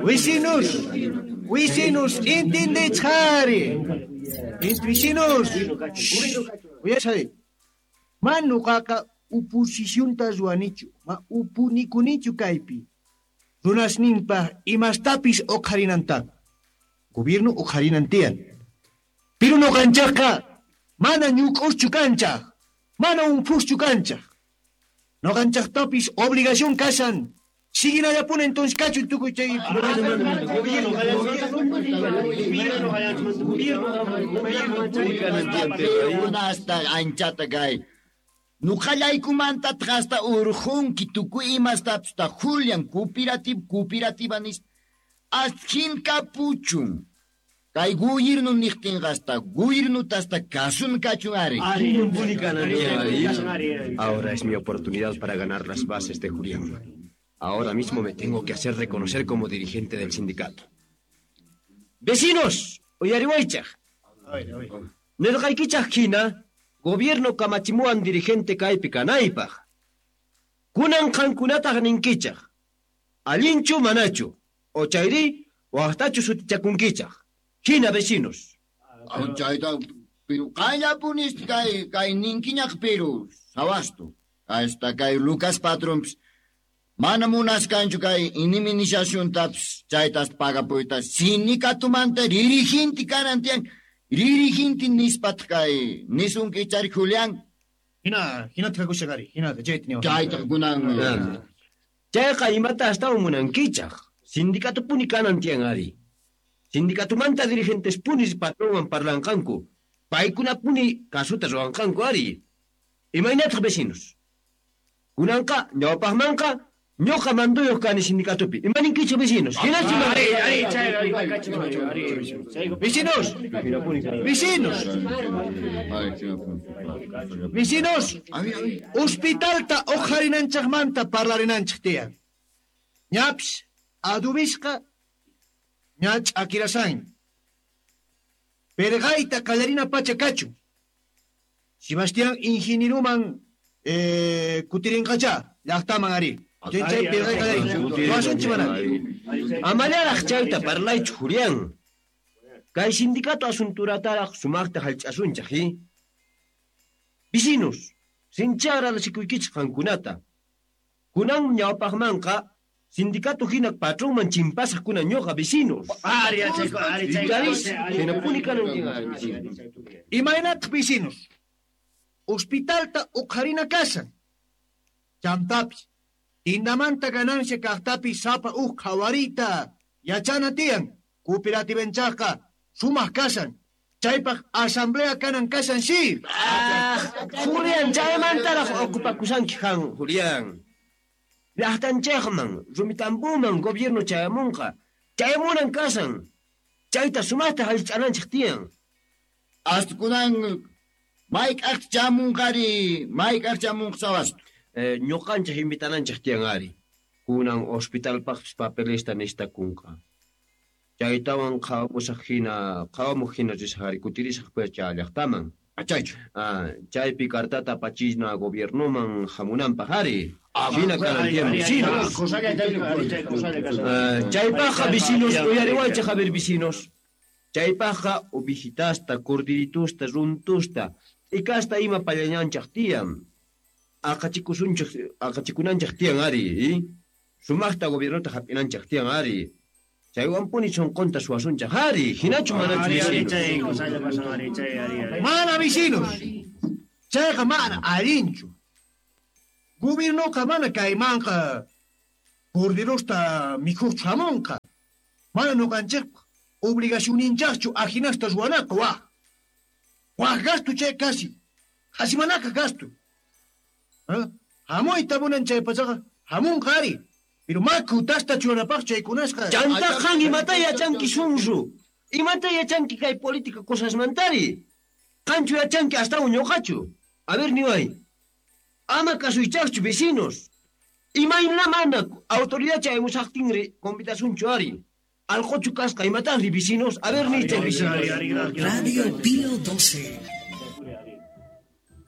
Vecinos, vecinos, entendechari. Vecinos, uyashay. Ma nuqaqa oposicionta ruwanichu, ma upunikunichu kaypi. Runasninpaj imastapis uqharinantaqa. Gobierno uqharinan tiyan. Pero nuqanchaqqa mana ñuk'uschu kanchaq, mana unphuschu kanchaq. Nuqanchaqtapis obligación kashan. Siguinallapuni entonces kachun tukuy chay Hasta anchata kay. Nuqallaykumanta hasta urjunki tukuy imastapis ta Julian cooperativa nispa. Ashin kapuchun. Kay gobierno niqtinqa hasta gobiernuta hasta kasun kachun ari. Ahora es mi oportunidad para ganar las bases de Julián. Ahora mismo me tengo que hacer reconocer como dirigente del sindicato. ¡Vecinos! Uyariwaychaj. Nirqaykichaj hina, gobierno kamachimuwan dirigente kaypi kanaypaj. Kunan qankunataq ninkichaj. Allinchu manachu, o chayri waqtachu sutichakunkichaj. Hina vecinos. Chayta, pero qanllapunis kay ninkiñaq pero sawastu. Hasta kay Lucas patronpis mana munaskanchu kay indemnizaciontapis chaytas pagapuyta sindicatumanta dirigente kanan tiyan. Dirigente nispat kay nisunki chari Julián. Hina thakushan ari, hina chayta niwan. Chayta kunan. Chayqa imata astawan munankichaj. Sindicatupuni kanan tiyan ari. Sindicatumanta dirigentes punis patronwan parlanqanku. Paykunapuni kasuta ruwanqanku ari. Imaynataq vecinos. Kunanqa ñawpaqmanqa ñuqa manduyuq kani sindicatupi. Imaninkichik vecinos. Hinachu Vecinos. Vecinos. Vecinos. Hospitalta uqharinanchaqmanta parlarinanchik tiyan. Ñapis adubisqa ña ch'akirasan. Perqayta qallarina pacha kachun. Sebastián ingenieruman kutirinqacha llaqtaman ari. Chay perqay qallarin. Ruwasunchik mana. Amallaraq chayta parlaychu Julián. Kay sindicato asunturataraq sumaqta hallch'asunchaq, Vecinos, sinchi agradecikuykichik qankunata. Kunan ñawpaqmanqa sindicato hina patronman chimpasaq kunan ñuqa vecinos. Hinapuni kanan vecinos. Imaynataq vecinos. Hospitalta uqharina kasan. Chantapis, tindamanta ganancia kaqtapis sapa uj qhawariyta yachana tiyan. Cooperativanchaqqa sumaq kasan. Chaypaq asamblea kanan kasan si. Julián, chaymantaraq ocupakusanki qan, Julián. Llaqtanchaqman, rumitampuman gobierno chayamunqa. Chayamunan kasan. Chayta sumaqta hallch'ananchik tiyan. Hasta kunan mayk'aq chamunqari, mayk'aq chamunqa sawastu. Ñuqanchik invitananchik tiyan ari. Kunan hospitalpaqpis papelesta nishtakunqa. Chaytawan qhawamusaq hina risaq ari, kutirisaq pacha llaqtaman. Chaychu. Chaypi cartata apachina gobiernoman hamunanpaq ari. Hina kanan tiyan vecinos. Chaypaqqa vecinos, uyariwaychik a ver vecinos. Chaypaqqa ovejitasta, cordiritusta, runtusta, t'ikasta ima pallañanchaq tiyan. Aqachikunanchaq tiyan ari, Sumaqta gobiernota hap'inanchaq tiyan ari. Chaywanpuni sunqunta suwasunchaq ari, hinachu manachu vecinos. Mana vecinos. Chayqa mana allinchu. Gobiernoqa mana kaymanqa corderosta mikhuqchu hamunqa. Mana nuqanchikpaq obligacionninchaqchu ajinasta ruwanaqa waq. Waq gasto chay kasi. Qhasimanaka gasto. Hamuyta munan chay pachaqa hamunqa ari. Pero makutasta churanapaq chaykunasqa. Chanta qan imata yachanki sunsu. Imata yachanki kay política cosasmantari. Qanchu yachanki astawan ñuqachu. A ver niway. Ama kasuychaqchu vecinos. Imayna mana autoridad chayamusaqtinri convidasunchu ari. Alqochu kasqa imataqri vecinos. A ver nichaq vecinos. Radio Pío 12.